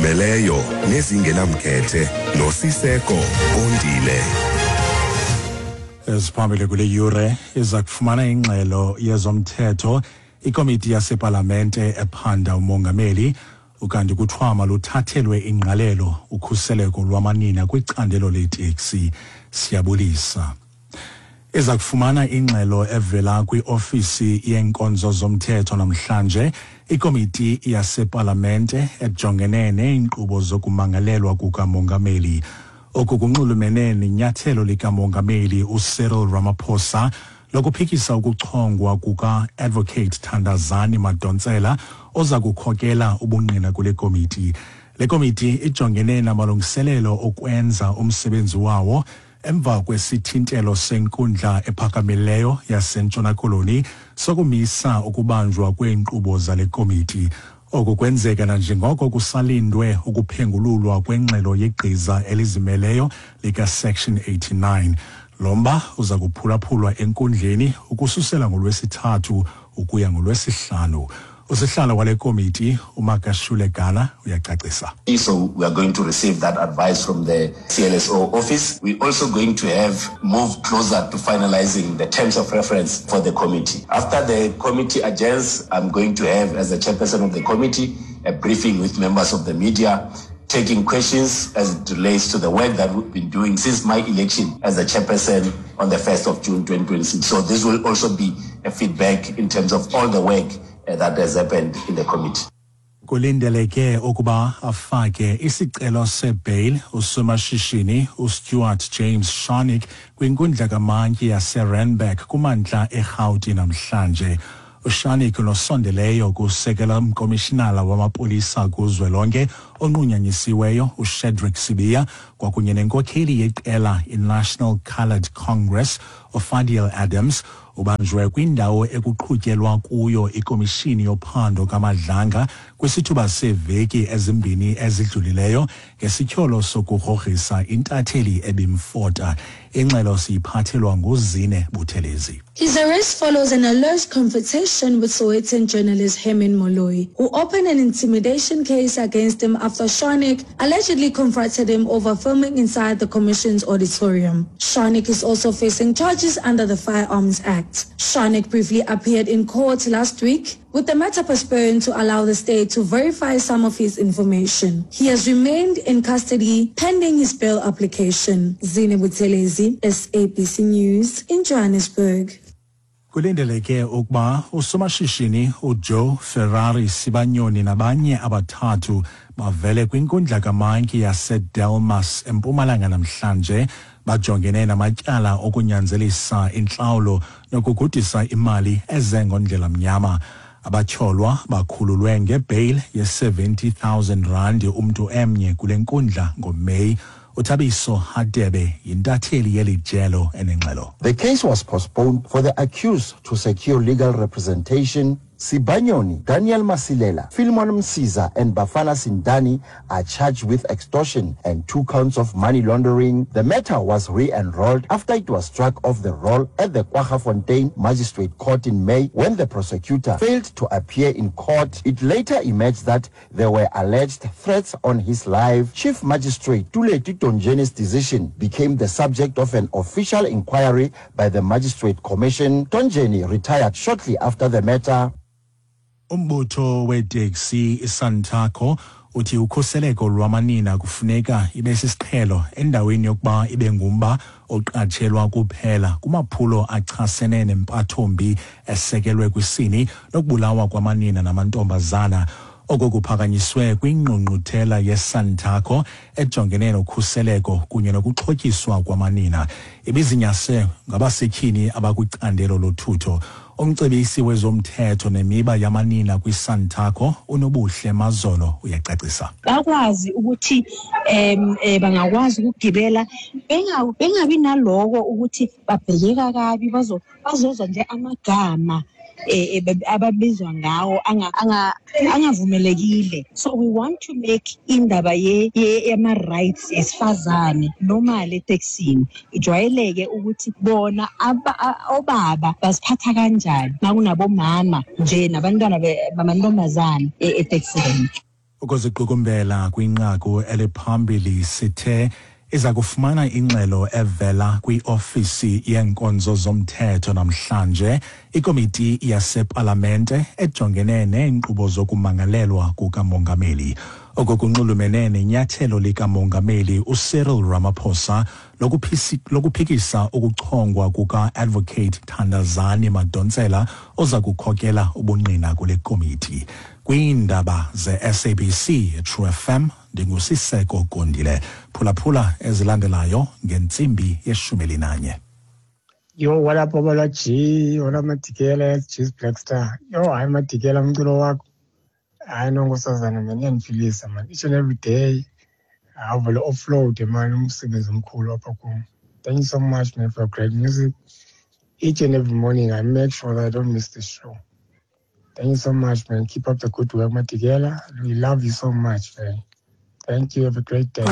Ezizimeleyo nezingenamkhethe noSiseko Kondile. Eziphambili kule yure iza kufumana ingxelo yezomthetho ikomiti yasepalamente ephanda umongameli, ukanti kuthiwa maluthathelwe ingqalelo ukhuseleko lwamanina kwicandelo leeteksi. Siyabulisa. Iza kufumana ingxelo evela kwiofisi yeenkonzo zomthetho namhlanje ikomiti yasepalamente ejongene neenkqubo zokumangalelwa kukamongameli. Oku kunxulumene nenyathelo likamongameli uCyril Ramaphosa lokuphikisa ukuchongwa kuka-Advocate Thandazani Madonsela oza kukhokela ubungqina kule komiti. Le komiti ijongene namalungiselelo okwenza umsebenzi wawo emva kwesithintelo senkundla ephakamileyo yaseNtshona Koloni sokumisa ukubanjwa kweenkqubo zale komiti. Oku kwenzeka nanjengoko kusalindwe ukuphengululwa kwengxelo yegqiza elizimeleyo likaSection 89. Lo mba uza kuphulaphulwa enkundleni ukususela ngoLwesithathu ukuya ngoLwesihlanu. Usihlalo wale komiti uMakashule Gana uyacacisa. So we are going to receive that advice from the CLSO office. We're also going to have moved closer to finalizing the terms of reference for the committee. After the committee adjourns, I'm going to have, as the chairperson of the committee, a briefing with members of the media, taking questions as it relates to the work that we've been doing since my election as the chairperson on the 1st of June 2026. So this will also be a feedback in terms of all the work that has happened in the committee. Kulindeleke ukuba afake isicelo sebail usomashishini uStuart James Scharnick kwinkundla kamantyi yaseRandburg kumantla eRhawuti namhlanje. UScharnick nosondeleyo kusekela mkomishinala wamapolisa kuzwelonke onqunyanyisiweyo uShadrack Sibiya kwakunye nenkokheli yeqela iNational Coloured Congress uFadiel Adams ubanjwe kwindawo ekuqhutyelwa kuyo ikomishini yophando kaMadlanga kwisithuba seeveki ezimbini ezidlulileyo ngesityholo sokugrogrisa intatheli ebimfota. Ingxelo siyiphathelwa nguZine Buthelezi. His arrest follows an alleged confrontation with Sowetan journalist Herman Moloi, who opened an intimidation case against him after Scharnick allegedly confronted him over filming inside the commission's auditorium. Scharnick is also facing charges under the Firearms Act. Scharnick briefly appeared in court last week, with the matter postponed to allow the state to verify some of his information. He has remained in custody pending his bail application. Zine Buthelezi, SABC News in Johannesburg. Kulindeleke ukuba usomashishini uJoe Ferrari Sibanyoni nabanye abathathu bavele kwinkundla kamantyi yaseDelmas eMpumalanga namhlanje. Bajongene namatyala okunyanzelisa intlawulo nokugudisa imali eze ngondlela mnyama. Abatyholwa bakhululwe ngebail ye-70,000 rand umntu emnye kule nkundla ngoMeyi. uThabiso Hadebe yintatheli yeli jelo enengxelo. The case was postponed for the accused to secure legal representation. Sibanyoni, Daniel Masilela, Philemon Msiza and Bafana Sindani are charged with extortion and 2 counts of money laundering. The matter was re-enrolled after it was struck off the roll at the Kwaggafontein Magistrate Court in May when the prosecutor failed to appear in court. It later emerged that there were alleged threats on his life. Chief Magistrate Tuleti Tonjeni's decision became the subject of an official inquiry by the Magistrate Commission. Tonjeni retired shortly after the matter. Umbutho weeteksi iSantaco uthi ukhuseleko lwamanina kufuneka ibe sisiqhelo endaweni yokuba ibe ngumba oqatshelwa kuphela kumaphulo achasene nempathombi esekelwe kwisini nokubulawa kwamanina namantombazana. Oko kuphakanyiswe kwingqungquthela yeSantaco ejongene nokhuseleko kunye nokuxhotyiswa kwamanina. Ibizinyase ngabasetyhini abakwicandelo lothutho. Umcebisi wezomthetho nemiba yamanina kwiSantaco uNobuhle Mazolo uyacacisa. Bakwazi ukuthi bangakwazi ukugibela bengabi naloko ukuthi babhekeka kabi, bazozwa nje amagama ababizwa ngawo angavumelekile. So we want to make indaba yama rights esifazane normal eteksini ijwayeleke ukuthi bona obaba baziphatha kanjani makunabomama nje nabantwana bamantombazane eteksini. Ukuziqukumbela kwinqaku eliphambili, sithe iza kufumana ingxelo evela kwiofisi yeenkonzo zomthetho namhlanje ikomiti yasepalamente ejongene neenkqubo zokumangalelwa kukamongameli. Oko kunxulumene nenyathelo likamongameli uCyril Ramaphosa lokuphikisa ukuchongwa kuka-Advocate Thandazani Madonsela oza kukhokela ubungqina kule komiti. Kwiindaba ze-SABC True FM, ndinguSiseko Gondile. Phulaphula ezilandelayo ngentsimbi yeshumi elinanye. Yo, what up, Babalwa G? What up, Madikela? G's Black Star. Yo, hayi Madikela, umculo wakho. Hayi no, nkosazana man, iyandiphilisa man. Each and every day. Awuvele offload man, umsebenzi omkhulu apha kum. Thank you so much, man, for great music. Each and every morning I make sure that I don't miss the show. Thank you so much, man. Keep up the good work, Madikela. We love you so much, man. Thank you. Have a great day.